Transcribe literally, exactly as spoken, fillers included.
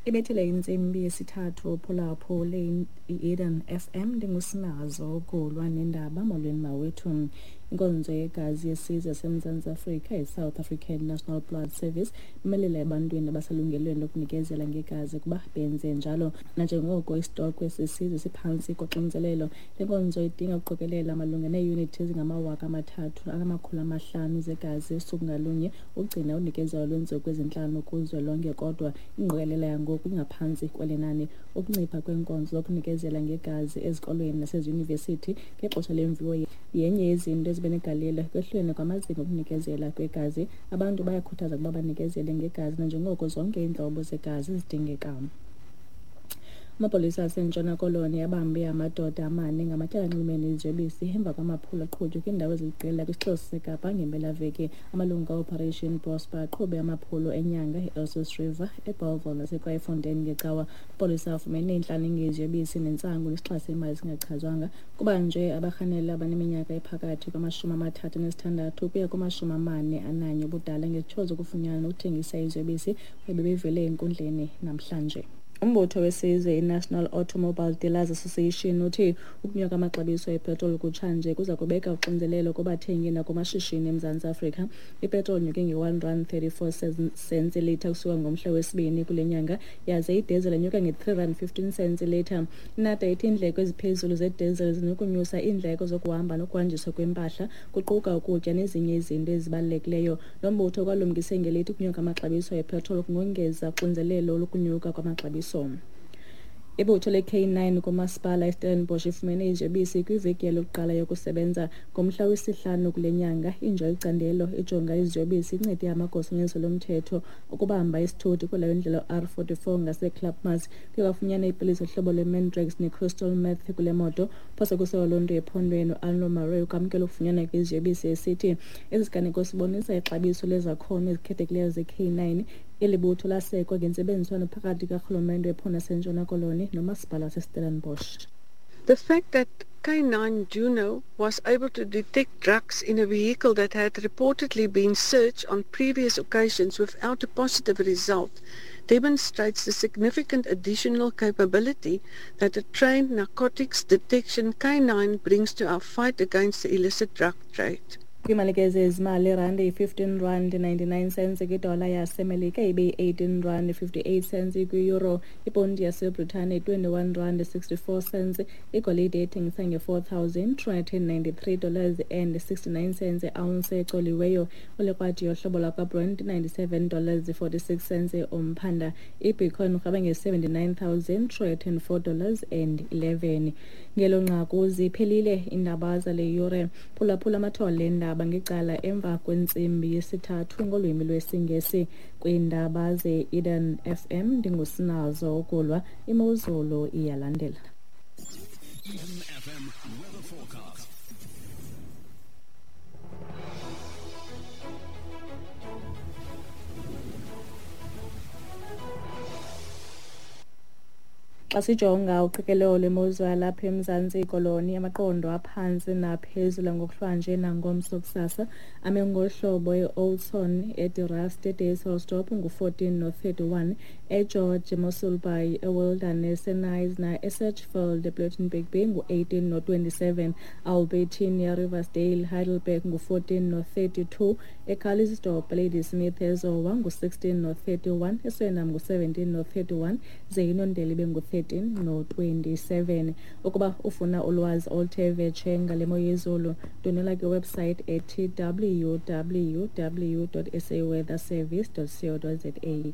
Ibethile intsimbi yesithathu phulaphule i-Eden F M, ndingusinazo ukulwa nendaba. Molweni mawethu. Inkonzo yegazi yesizwe yaseMzantsi Afrika, i-South African National Blood Service, imelela ebantwini abaselungelweni lokunikezela ngegazi ukuba benze njalo. Nanjengoko isitokwe sesizwe siphantsi koxinzelelo, le nkonzo idinga ukuqokelela malunga neeyunithi ezingamawaka amathathu anamakhulu amahlanu zegazi usuku ngalunye ukugcina unikezelo lweentsuku ezintlanu kuzwelonke, kodwa ingqokelela yangoku ingaphantsi kweli nani. Ukuncipha kweenkonzo zokunikezela ngegazi ezikolweni naseziyunivesithi ngexesha lemviwo yenye yezinto ezibe negalelo ekwehleni kwamazinga okunikezela kwegazi. Abantu bayakhuthazwa ukuba banikezele ngegazi nanjengoko zonke iintlobo zegazi zidingeka. Amapolisa aseNtshona Koloni abambe amadoda amane ngamatyala anxulumene neziyobisi emva kwamaphulo aqhutywe kwiindawo eziliqela kwisixeko saseKapa ngempelaveki. Amalungu ka-Operation Prosper aqhube amaphulo enyanga e-Elsies River, eBellville naseKraaifontein ngecawa. Amapolisa afumene intlaninge yeziyobisi nentsangu nesixa semali esingachazwanga. Kubanjwe abarhanelwa abaneminyaka ephakathi kwamashumi amathathu anesithandathu ukuya kumashumi amane ananye ubudala ngezityholo zokufunyanwa nokuthengisa iziyobisi kwaye bebevele enkundleni namhlanje. Umbutho wesizwe i-National Automobile Dealers Association uthi ukunyuka amaxabiso epetroli kutshanje kuza kubeka uxinzelelo kubathengi nakumashishini eMzantsi Afrika. Ipetroli inyuke nge-one rand thirty-four cents ilitha kusuka ngomhla wesibini kule nyanga, yaze idizili inyuka nge-three rand fifteen cents ilitha. INATA ithi iindleko eziphezulu zedizili zinokunyusa iindleko zokuhamba nokuhanjiswa kwempahla, kuquka ukutya nezinye izinto ezibalulekileyo. Lo mbutho kwalumkise ngelithi ukunyuka amaxabiso epetroli kungongeza uxinzelelo lokunyuka kwamaxabiso. Ibutho le-K nine kumasipala iStellenbosch ifumene iziyobisi kwiveki yokuqala yokusebenza ngomhla wesihlanu kule nyanga. Inja yecandelo ijonga iziyobisi incede amagosa onyanzeliso lomthetho ukubamba isithuthi kule ndlela R forty-four ngaseClubmas. Kuye kwafunyanwa iipilisi zohlobo lweMandrax neCrystal Meth kule moto. Phose kusewa loo nto ephondweni, uArno Murray ukwamkela ukufunyanwa kweziyobisi esithi esi siganeko sibonisa ixabiso lezakhono ezikhethekileyo ze-K nine. Eli butho lasekwa ngentsebenziswano phakathi karhulumente wephondo laseNtshona Koloni nomasipala waseStellenbosch. The fact that K nine Juno was able to detect drugs in a vehicle that had reportedly been searched on previous occasions without a positive result demonstrates the significant additional capability that a trained narcotics detection K nine brings to our fight against the illicit drug trade. Kwiimali zezimali, irandi yi-fifteen rand ninety-nine cents kwidola yaseMelika, ibe yi-eighteen rand fifty-eight cents kwi-euro. Iponti yaseBritane twenty-one rand sixty-four cents. Igolide ethengisa nge-four thousand two hundred ninety-three dollars and sixty-nine cents i-ounce ecoliweyo. Ulikrwadi yohlobo lwakwaBrent ninety-seven dollars forty-six cents umphanda. IBitcoin urhweba nge-seventy-nine thousand two hundred four dollars and eleven. Ngelo nqaku ziphelile iindaba zale yure. Phulaphula amathole endaba ngecala emva kwentsimbi yesithathu ngolwimi lwesiNgesi kwiindaba ze-Eden F M. Ndingusinazo ukulwa, imozulu iyalandela. Eden F M weather forecast. Xa sijonga uqikelelo lwemozulu yalapha eMzantsi Koloni, amaqondo aphantsi naphezulu ngokuhlwanje nangomso kusasa ame ngohlobo eOudtshoorn, eDe Rust, eDysselsdorp ngu-fourteen no-thirty-one, eGeorge, eMossel Bay, eWilderness, eKnysna, eSedgefield, ePlettenberg Bay ngu-eighteen no-twenty-seven, Albertina, Riversdale, Heidelberg ngu-fourteen no-thirty-two, eCalitzdorp, Ladysmith, eZowa ngu-sixteen no-thirty-one, eSuriname ngu-seventeen no-thirty-one, ze iNondeli ibe ngu-thirteen no-twenty-seven. Ukuba ufuna ulwazi oluthe vetshe ngale mo yezulu, ndwendwela kwiwebsite ethi w w w dot s a weather service dot co dot z a.